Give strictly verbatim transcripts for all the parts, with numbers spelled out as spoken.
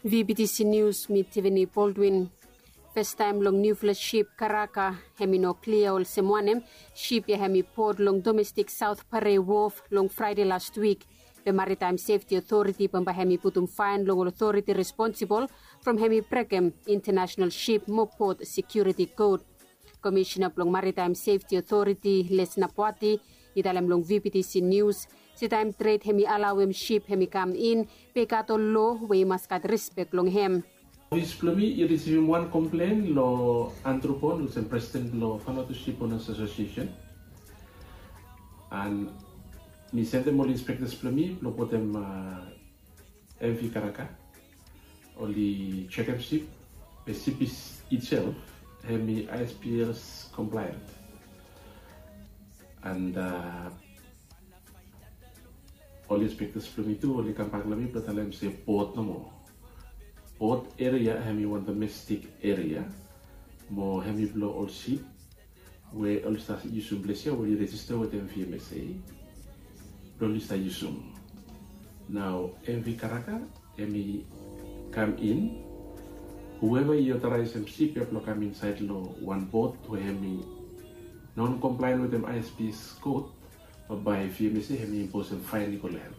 VBTC News, mi Tiffany Baldwin. Fastaem long niufala sip karaka, hemi no klia olsem wanem sip ya hemi pot long domestik South Parade Wharf long Fraede lastwik. Be Maritime Safety Authority bambae hemi putum faen long ol otoriti responsibol from hemi brekem international sip mo pot security code. Komisena blong Maritime Safety Authority, Les Napwati, i talem long VBTC News se taem tred hemi alaoem sip hemi kam in, be i gat ol loa we i mas gat rispek long hem. Ofis blong mi i risivim wan komplen long Andrew Pond, olsem presiden blong Vanuatu Ship Owners Association. An mi sendem ol inspektas blong mi blong botem, a, MV Karaka, oli jekem sip, be sip itself hemi ISPS compliant. An, a, ol inspektas blong mi tu oli kambak long mi blong talem se pot nomo. Pot eria hemi wan domestik eria, mo hemi blong ol sip we oli stap yusum ples ya we oli rejista wetem VMSA blong oli stap yusum. Nao MV Karaka hemi kam in, hueva i otaraesem sip ya blong kam insaed long wan pot we hemi non compliant wetem ISPS kot, bae VMSA hemi imposem faen i go long hem.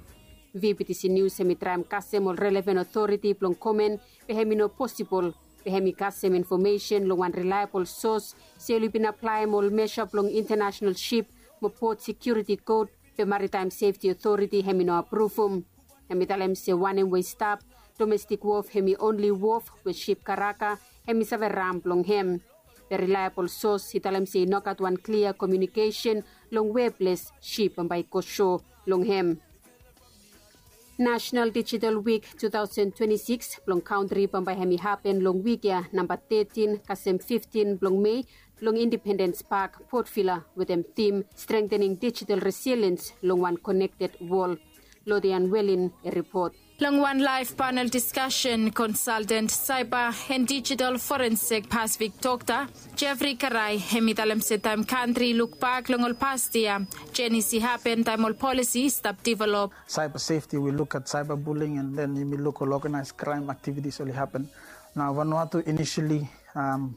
VBTC News hemi traem kasem ol relevan otoriti blong komen, be hemi no posibol. Be hemi kasem infomesen long wan rilaebol sos se oli bin aplaem ol mesa blong internasenal sip mo pot sekiuriti kot, be Maritime Safety Authority hemi no apruvum. Hemi talem se wanem we i stap, domestik wof hemi onli wof we sip karaka hemi save ram blong hem. Be rilaebol sos i talem se i no gat wan klia komiunikesen long weples sip bambae i go so long hem. National Digital Week two thousand twenty-six blong kantri bambae hemi hapen long wik ya namba thirteen kasem fifteen blong Mei long Independence Park, Port Vila, wetem tim Strengthening Digital Resilience long wan Connected World. Lodian Welin i ripot. Long wan laef panel diskasen, konsalten saiba and digital forensik Pacific Doctor Jeffrey Karai hemi talem se taem kantri i lukbak long ol past yia, jenis i hapen taem ol polisi i stap develop. Cyber safety, we look at cyberbullying, and then yumi look ol organized crime activities oli happen. Nao Vanuatu initially, um,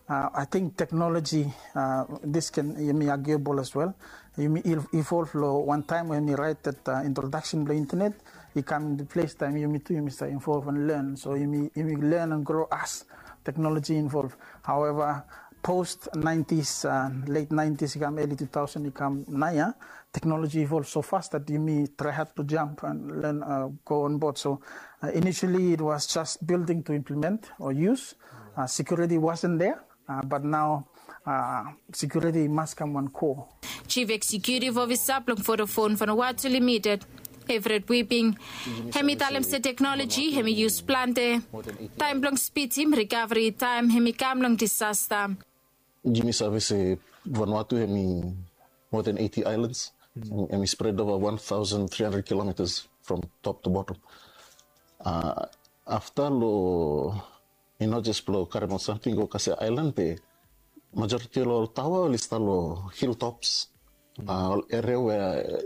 uh, I think technology, uh, this can, yumi arguable as well. Yumi evolve long wan taem we yumi raet that, uh, introduction blong internet i kam into place, taem yumi tu yumi stap evolve and learn. So yumi, yumi learn and grow as technology evolve. However, post nineties, uh, late nineties i kam, early two thousand i kam naoia, technology evolve so fast that yumi try hard to jump and learn, uh, go on board. So, uh, initially it was just building to implement or use. Uh, security wasn't there, uh, but now, uh, security must come one core. Chief Executive Officer blong Vodafone Vanuatu Limited, Everett Whipping, hemi talem se teknoloji hemi yus plante taem blong spidim rikaveri taem hemi kam long disasta. Yumi save se Vanuatu hemi more than eighty islands. Hemi spread over one thousand three hundred kilometers from top to bottom. Uh, afta lo, i no jes blo karem ol samting go kasem aelan, be majoriti lo ol taoa oli stap lo hilltops, uh, ol eria we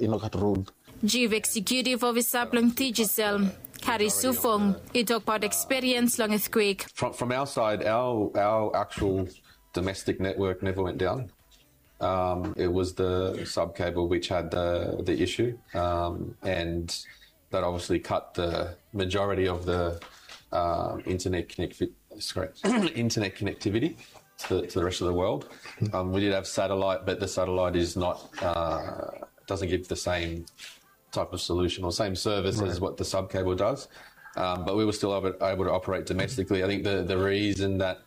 i no gat rod. Chief Executive Officer blong Digicel, Kari Sufong, i tokbaot ekspiriens long earthquake. From, from our side, our, our actual domestic network never went down. Um, it was the sub cable which had the, the issue, um, and that obviously cut the majority of the, um, internet connect-, sorry, internet connectivity to, to the rest of the world. Um, we did have satellite, but the satellite is not, uh, doesn't give the same type of solution or same service as what the sub cable does. Um, but we were still able, able to operate domestically. I think the, the reason that,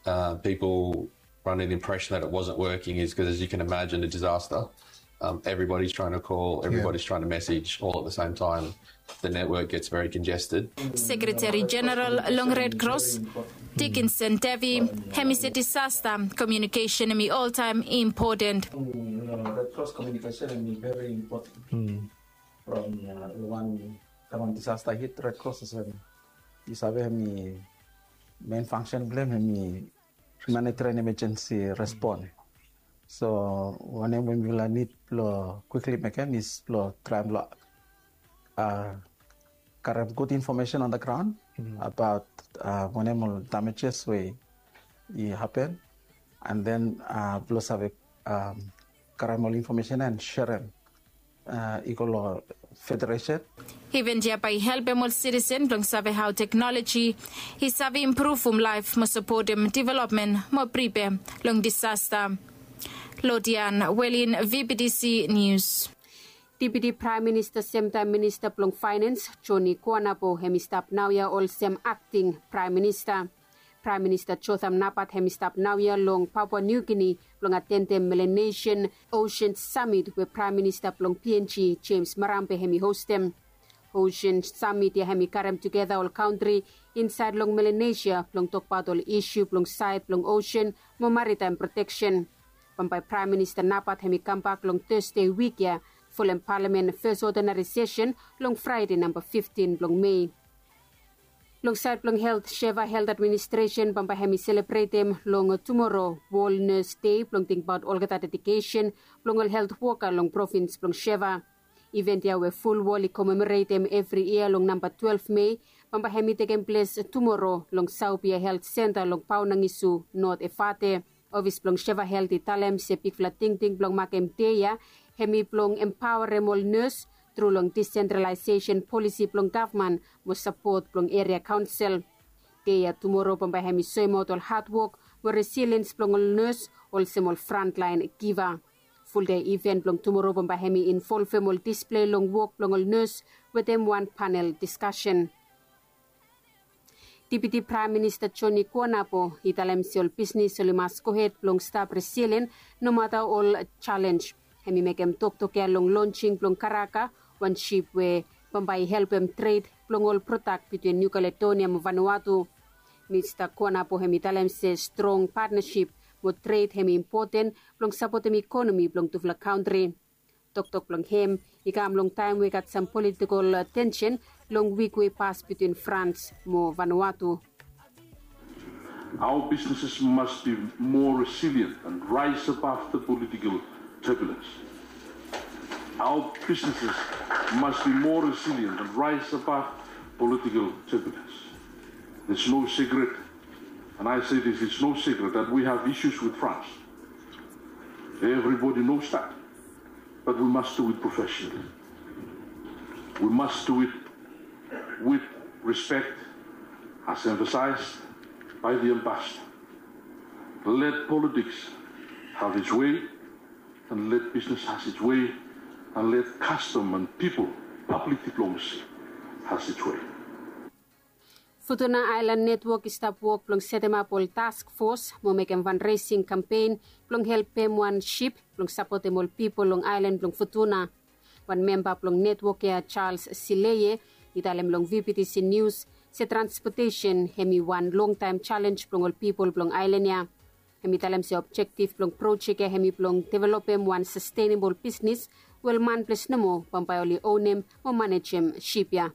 uh, people run an impression that it wasn't working is 'cause, as you can imagine, a disaster, um, everybody's trying to call, everybody's trying to message all at the same time. The network gets very congested. Sekretari Jeneral long Red Cross, Dickinson Devi, hemi se disasta komiunikesen hemi oltaem impoten. Red Cross komiunikesen hemi very important. From, uh, wan, taem wan disasta hit, Red Cross i save, i save hemi main function blo hem hemi humanitarian emergency response. So wanem we mifala nid blo quickly mekem is blo traem blo, uh, karem gud infomesen on the graon abaot wanem ol damages we i hapen, and then blong save karem ol infomesen and serem i go long federesen. Iven ya bae i helpem ol sitisen blong save hao teknoloji i save impruvum laef mo sapotem developmen mo pripe long disasta. Lodian Welin, V B T C News. Deputi Praem Minista semtaem Minista blong Faenans Joni Kuanabo hem i stap naoia olsem akting Praem Minista. Praem Minista Jotham Napat hem i stap naoia long Papua Niu Gini blong atendem Melanesian Ocean Summit we Praem Minista blong P N G James Marambe hem i hostem. Ocean Summit ya hem i karem tugeta ol kantri insaed long Melanesia blong tokbaot ol isu blong saed blong ocean mo maritaem proteksen. Bambae Praem Minista Napat hem i kambak long Tasde wik ya folem palamen fes odinari sesen long Fraede namba fiftin blong Mei. Long saed blong helt, Sheva Helt Administresen bambae hem i selebretem long tumoro Wol Nes Dei blong tingbaot olgeta dedikesen blong ol helt woka long provins blong Sheva. Iven ya we ful wol i komemoretem evri yia long namba twelef Mei bambae hem i tekem ples tumoro long Saubia Helt Senta long Paonangisu, Not Efate. Ofis blong Sheva Helt i talem se bigfala tingting blong makem dei ya hem i blong empaorem ol nes tru long disentralaesesen polisi blong gavman mo sapot blong eria kaonsel. Dei ya tumoro bambae hem i soemaot ol hadwok mo resiliens blong ol nes olsem ol frantlaen giva. Fuldei iven blong tumoro bambae hem i involvem ol displei long wok blong ol nes wetem wan panel diskasen. Deputi Praem Minista Joni Kuanabo i talem se ol bisnis oli mas gohed blong stap resilien nomata ol jalenj. Hem i mekem toktok ya long lonsing blong Karaka, wan sip we bambae i helpem tred blong ol prodak bitwin Niu Kaledonia mo Vanuatu. Minista Kuanabo hem i talem se strong patnasip mo tred hem i impoten blong sapotem ikonomi blong tufala kantri. Toktok blong hem i kam long taem we i gat sam politikol tensen long wik we i pas bitwin Frans mo Vanuatu. Our businesses must be more resilient and rise above the political turbulence. Our businesses must be more resilient and rise above political turbulence. It's no secret, and I say this, it's no secret that we have issues with France. Everybody knows that. But we must do it professionally. We must do it with respect, as emphasized by the ambassador. Let politics have its way, and let business has its way, and let custom and people, public diplomacy, has its way. Futuna Aelan Netwok i stap wok blong setemap ol task fos mo mekem fanresing kampen blong helpem wan sip blong sapotem ol pipol long aelan blong Futuna. Wan memba blong netwok ya, Charles Sileye, i talem long V B T C News se transpotesen hem i wan longtaem jalenj blong ol pipol blong aelan ya. Hem i talem se objektif blong projek ya hem i blong developem wan sastenebol bisnis we ol manples nomo bambae oli onem mo manejem sip ya.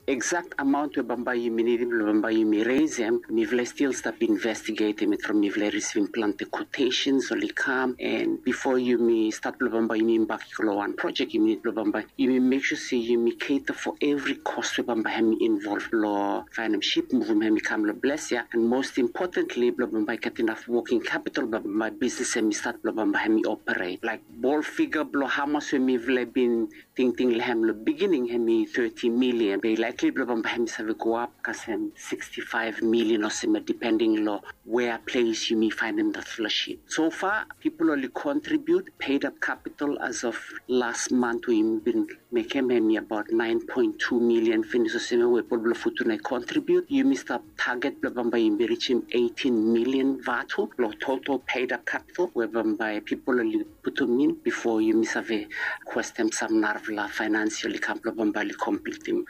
Eksakt amaon we bambae yumi nidim blong bambae yumi resem, mifala i stil stap investigetem it from mifala i risivim plante kwotesens oli kam, and bifo yumi stat blong bambae yumi bak i go long wan projek, yumi nid blong bambae yumi mek sua se yumi keta fo evri kos we bambae hem i involv long faenem sip, muvum hem i kam long ples ya, and most importantly blong bambae i gat inaf woking kapitol blong bambae bisnis hem i stat blong bambae hem i operet. Laek bol figa blong hamas we mifala i bin tingting long hem long bigining hem i thirty million, be i laekli blong bambae hem i save go ap kasem sixty-five million olsem ya, depending long wea ples yumi faenem datfala sip. So fa pipol oli kontribiut, peidap kapitol as of las mant we yumi bin mekem hem i abaot nine point two million finis olsem ya we pipol blong Futuna i kontribiut. Yumi stap taget blong bambae yumi rijim eighteen million vatu long total peidap kapitol we bambae pipol oli putum in bifo yumi save kwestem sam narafala faenans oli kam blong bambae oli komplitim.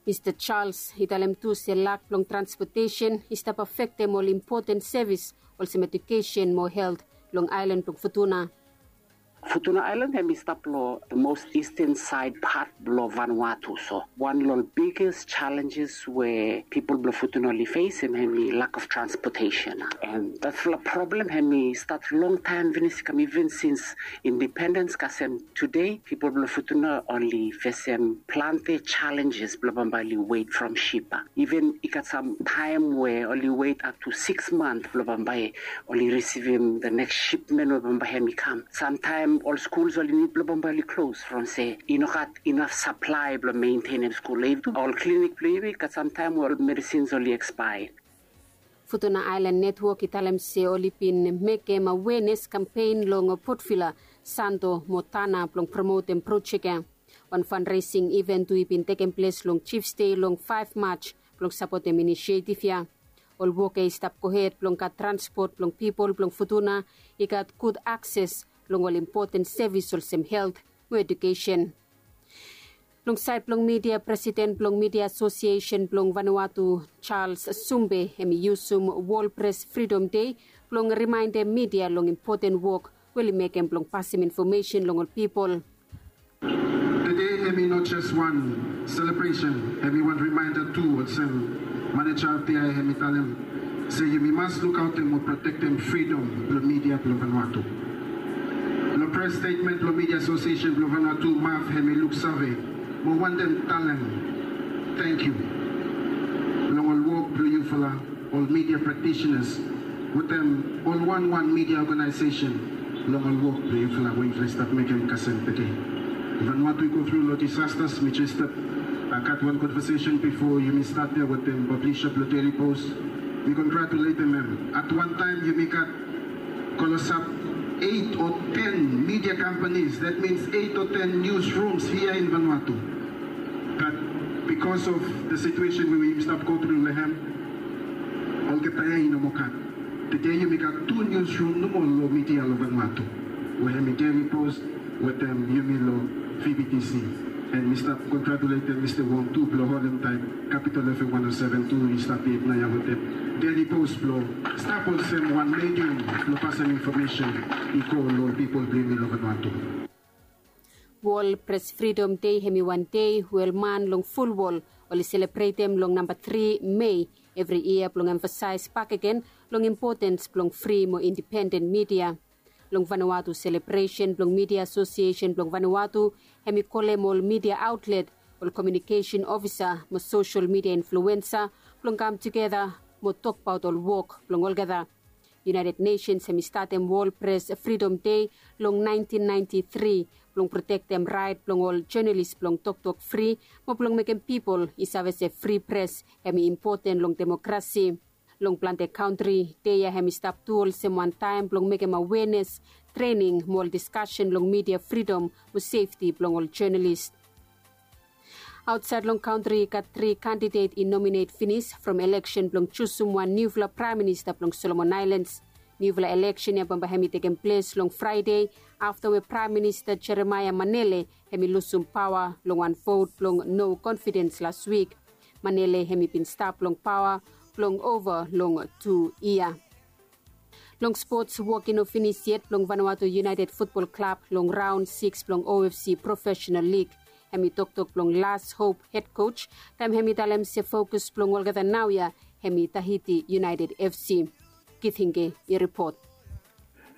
Mista Charles i talem tu se lak blong transpotesen i stap afektem ol impoten sevis olsem ejukesen mo helt long aelan blong Futuna. Futuna Island hemi stap lo the most eastern side part blo Vanuatu. So wan lo biggest challenges we pipol blo Futuna oli fesim hemi lack of transportation. And datfala problem hemi stat long taem finis, i kam even since independence kasem today, pipol blo Futuna oli fesim plante challenges blo bambae oli wet from ship. Even i gat sam taem we oli wet up to six month blo bambae oli risivim the next shipment we bambae hemi kam. Samtaem ol skuls oli nid blo bambae oli klos from se i no gat inaf saplae blo mentenem skul. Ol klinik blo yumi gat samtaem we ol medisins oli ekspaea. Futuna Island Network i talem se oli bin mekem awenes kampen long Port Vila, Santo mo Tanna blong promotem projek ya. Wan fundraising iven tu i bin tekem ples long Chiefs Day long five March blong sapotem inisietif ya. Ol wok ya i stap gohed blong gat transpot blong pipol blong Futuna i gat gud akses long ol impoten sevis olsem helt mo edukesen. Long saed blong midia, presiden blong Midia Asosiesen blong Vanuatu, Charles Sumbe, hemi yusum Wol Pres Fridom Dei blong rimaendem midia long impoten wok we oli mekem blong pasem infomesen long ol pipol. Tede hemi no jes wan selebresen, hemi wan rimaenda tu, olsem maneja of the year hemi talem se yumi mas lukaotem mo protektem fridom blong midia blong Vanuatu. Long pres stetmen blong Midia Asosiesen blong Vanuatu, MAV, hemi luksave mo wantem talem tangkiu long ol wok blong yufala, ol midia praktisenas wetem ol wanwan midia oganaesesen long ol wok blong yufala we yufala i stap mekem kasem tede. Vanuatu i go tru long disastas, mi jes stap gat wan konvasesen bifo yumi stat ya wetem pablisa blong Daily Post. Mi kongratuletem hem. At wan taem yumi gat klosap eit o ten midia kampanis, that means eit o ten niusrums hia in Vanuatu. But bikos of the situation we yumi stap go tru long hem, olgeta ya i no moa gat. Tede yumi gat tu niusrum nomo long midia long Vanuatu, we hemi Daily Post wetem yumi long V B T C. And mi stap kongratuletem Mista Wong tu blong holem taet Capital F M one oh seven tu i stap yet naoia wetem Daily Post blong stap olsem wan medium blong pasem infomesen i go long pipol blong yumi long Vanuatu. Wol Pres Fridom Dei hemi wan dei we ol man long ful wol oli selebretem long namba tri Mei evri yia blong emfasaes bakegen long impotens blong fri mo indipenden midia. Long Vanuatu selebresen blong Midia Asosiesen blong Vanuatu, hemi kolem ol midia aotlet, ol komiunikesen ofisa mo sosel midia influensa blong kam tugeta mo tokbaot ol wok blong olgeta. United Nations hemi statem Wol Pres Fridom Dei long naentin naenti tri blong protektem raet blong ol jonalis blong toktok fri mo blong mekem pipol i save se fri pres hemi impoten long demokrasi. Long plante kantri, dei ya hemi stap tu olsem wan taem blong mekem awenes, trening mo ol diskasen long midia fridom mo sefti blong ol jonalis. Aotsaed long kantri i gat tri kandidet i nominet finis from eleksen blong jusum wan niufala praem minista blong Solomon Aelans. Niufala eleksen ya bambae hemi tekem ples long Fraede afta we Praem Minista Jeremaia Manele hemi lusum paoa long wan vot blong no konfidens las wik. Manele hemi bin stap long paoa blong ova long tu yia. Long spots, wok i no finis yet blong Vanuatu United Futbol Klab long raon sikis blong O F C Profesenal Lig. Hemi toktok blong Las Hop hed kos taem hemi talem se fokus blong olgeta naoia hemi Tahiti United F C. Kitinge i ripot.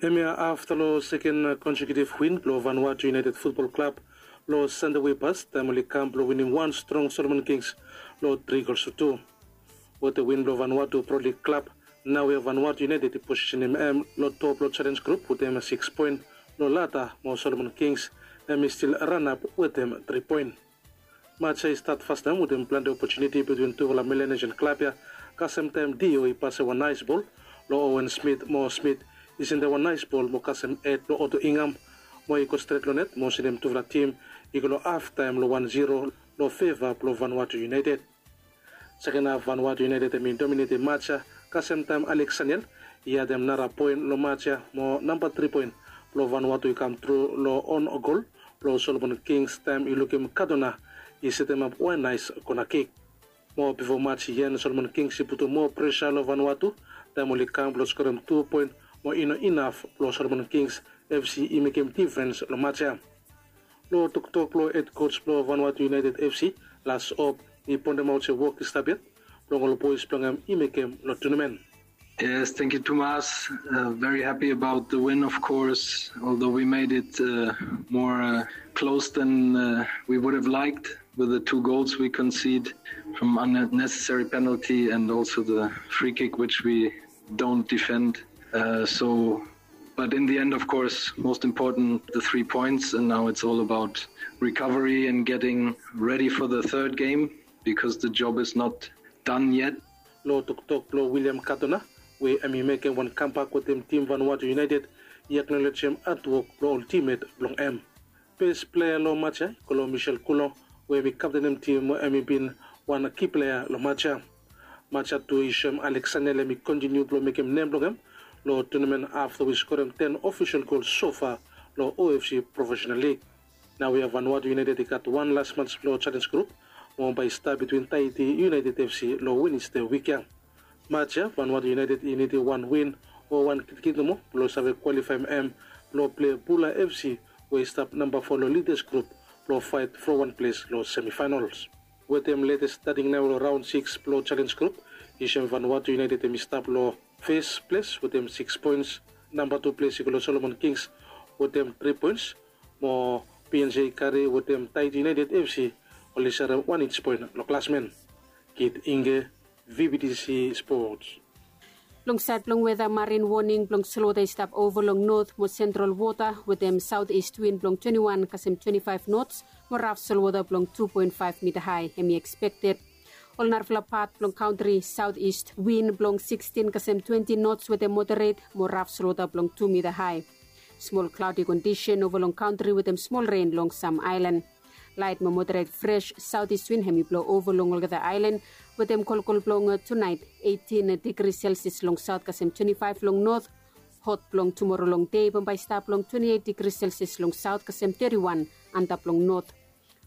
Hemia afta long seken konsekiutiv win blong Vanuatu United Futbol Klab long Sande we i pas taem oli kam blong winim wan strong Solomon Kings long tri gols tu tu. Wetem win blong Vanuatu Pro Lig klab, naoia Vanuatu United i posisenem hem long top blong jalenj grup wetem sikis poen long lada, mo Solomon Kings hemi stil ranap wetem tri poen. Maj ya i stat fastaem wetem plante opotuniti bitwin tufala Melanesian klab ya, kasem taem Dio i pasem wan naes bol long Owen Smith mo Smith i sendem wan naes bol mo kasem hed blong Oto Ingham, mo i go stret long net mo sendem tufala tim i go long haftaem long wan ziro long feva blong Vanuatu United. Seken haf Vanuatu United hemi dominetem maj ya, kasem taem Alex Saniel i adem nara poen long maj ya mo namba tri poen blong Vanuatu i kam tru long on gol blong Solomon Kings taem i lukim Kadona i setemap wan naes kona kik. Mo bifo maj i en, Solomon Kings i putum moa presa long Vanuatu taem oli kam blong skorem tu poen, mo i no inaf blong Solomon Kings F C i mekem difrens long match ya. Long toktok blong hed coach blong Vanuatu United F C, Lars Op, i pontem aut se wok i stap yet blong ol bois blong hem i mekem long tournament. Yes, thank you, Thomas. Uh, very happy about the win, of course, although we made it uh, more uh, close than uh, we would have liked with the two goals we concede from unnecessary penalty and also the free kick, which we don't defend. Uh, so, but in the end, of course, most important, the three points, and now it's all about recovery and getting ready for the third game because the job is not done yet. Long toktok blong William Katona, we hem i mekem wan kambak wetem tim Vanuatu United, i aknolejem hatwok blong ol timmet blong hem. Bes plea long match ya i go long Michel Kulo, we hem i kaptenem tim we hem i bin wan ki plea long match ya. Match ya tu i soem Alexander hem i kontiniu blong mekem nem blong hem long tournament afta we i skorem ten ofisol gol sofa long O F C Professional League. Nao ya Vanuatu United i gat wan las match blong Challenge Group, mo bae i stap bitwin Tahiti United F C long Wenesde wik ya. Match ya Vanuatu United i nidim wan win o wan kitkit nomo blong save kwalifaem hem blong plei Bula F C we i stap namba fo long Leaders Group blong faet from wan ples long semifinals. Wetem letes stating nao long raon sikis blong Challenge Group, i soem Vanuatu United hem i stap long fes ples wetem sikis poens. Namba tu ples i go long Solomon Kings wetem tri poens, mo P N J Kari wetem Tahiti United F C oli serem wan ij poen long klasmen. Kit Inge, V B T C Sports. Long saed blong weta, marin woning blong solwota i stap ova long not mo sentral wota wetem saot ist win blong twenti wan kasem twenti faef nots mo raf solwota blong tu poen faef mita hae hem i ekspekted. Ol narafala pat blong kantri, saot ist win blong sikstin kasem twenti nots wetem moderet mo raf solwota blong tu mita hae. Smol klaodi kondisen ova long kantri wetem smol ren long sam aelan. Laet mo moderet fres saot ist win hem i blo ova long olgeta aelan wetem kolkol blong tunaet, eitin digri selsias long saot kasem twenti faef long not. Hot blong tumoro long dei bambae i stap long twenti eit digri selsias long saot kasem teti wan antap long not.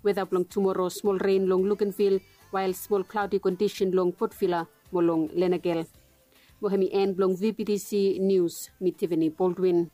Weta blong tumoro, smol ren long Luganville, wael smol klaodi kondisen long Port Vila mo long Lenakel. Mo hem i en blong V B T C Nius. Mi Tiffany Baldwin.